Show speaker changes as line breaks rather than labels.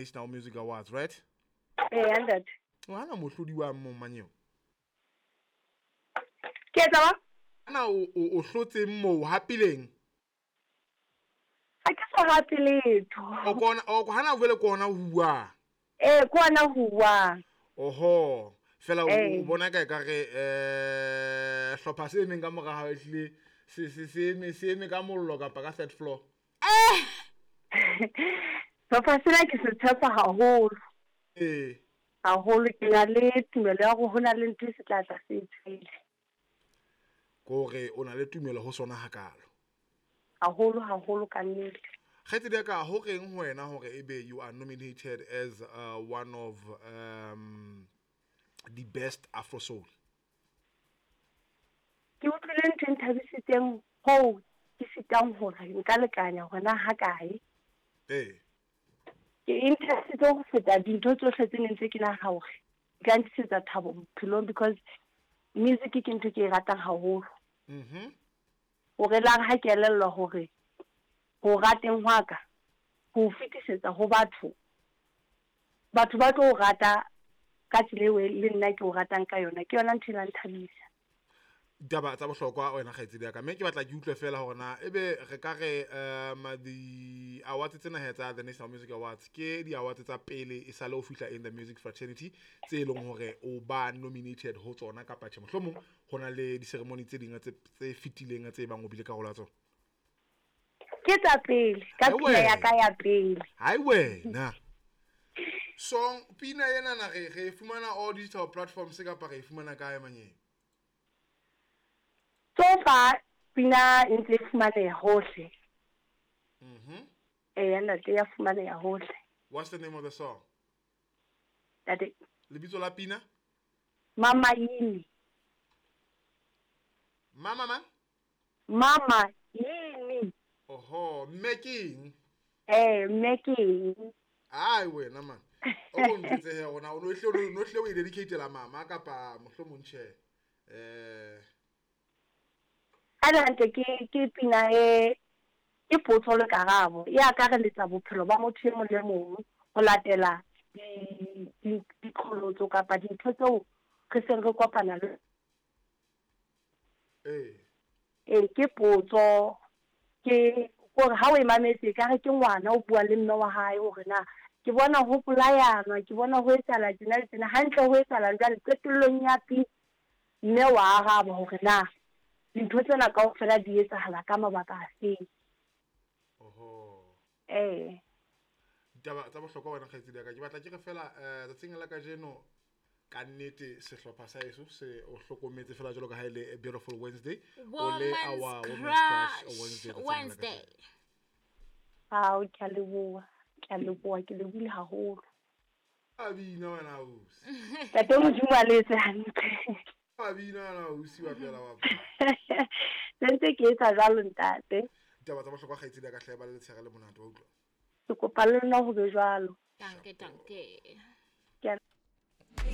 National Music Awards, right?
Ee, ntate.
Hana mohlodi wa mo manyeo.
Ke etsa ba?
Ana o hlotseng moo hapileng?
Ha ke so hape letho.
O kona o hana vele kona huwa.
Ee, ke ona huwa.
Oho. Fela o bona ka ka re hlopha se emeng ka mora hao ehlile se eme ka mollo kapa ka third floor.
Sehlopha sena ke se tshepa haholo.
Ee.
Haholo ke na le tumelo ya hore ho na le ntho e se tla tla se tswele.
Kore o na le tumelo ho sona hakalo.
Haholo haholo ka nnete.
Kgaitsedi ya ka ho reng ho wena hore ebe you are nominated as one of the best Afro Soul?
Ke utlwile ntho e nthabisitseng hoo ke sitang hore nka lekanya hore na ha kae.
Ee.
Ke e nthabisitse ho feta dintho tsohle tse neng tse ke nahana hore di ka ntlisetsa thabo bophelong because music ke ntho ke e ratang haholo. Hore la re ha ke elellwa hore ho rateng hwa ka ho fetisetsa ho batho, batho ba tlo o rata ka tsela eo le nna ke o ratang ka yona, ke yona ntho e la nthabisa.
Ditaba tsa bohlokwa wena kgaitsedi ya ka, mme ke batla ke utlwe fela hore na ebe re ka re di awards tsena he tsa the National Music Awards ke di awards tsa pele e sale o fihla in the music fraternity tse leng hore o ba nominated ho tsona kapa tjhe, mohlomong ho na le di ceremony tse ding tse fetileng tse bang o bile karolo ya tsona?
Ke tsa pele, ka pina ya ka ya pele.
Hai wena. Song pina ena na re fumana all digital platforms kapa re fumana kae manyeng?
So far pina e ntse e fumaneha hohle. Ee, ntate ya fumaneha hohle.
What's the name of the song?
Ntate.
Lebitso la pina?
Mama Yini.
Mama mang?
Mama Yini.
Oho, mme ke eng?
Eh, mme ke eng?
Ai wena man. O ko ntjwetse he hore na o no hle o e dedicate-ela mama kapa mohlomong tjhe.
Ha le hantle ke pina e ke potso le karabo e akareletsa bophelo ba motho e mong le mong ho latela diqholotso kapa dintho tseo re seng re kopana le. Ee, ke potso ke hore ha o e mametse ekare ke ngwana o bua le mme wa hae hore na ke bona ho bolayanwa, ke bona ho etsahala tjena le tjena, hantle ho etsahalang jwale qetellong ya pina mme wa araba hore na dintho tsena kaofela di etsahala ka mabaka a feng.
Oho.
Ee.
Ditaba tsa bohlokwa wena kgaitsedi ya ka, ke batla ke re fela tsatsing la kajeno ka nnete sehlopha sa heso se o hlokometse fela jwalo ka ha e le Beautiful Wednesday. O le our
Woman's
Crush
Crush
Wednesday tsatsing la
Wednesday.
kajeno.
Ao, ke a leboha, ke a leboha, ke lebohile haholo.
A bina wena ausi.
Ntate Modimo a le etse hantle.
A bina wena ausi wa tlohela wa.
Se ntse ke etsa jwalo ntate.
Ditaba tsa bohlokwa kgaitsedi ya ka hle ba le letshehare le monate wa utlwa.
Ke kopa le nna ho be jwalo.
Danke, danke.
Ke a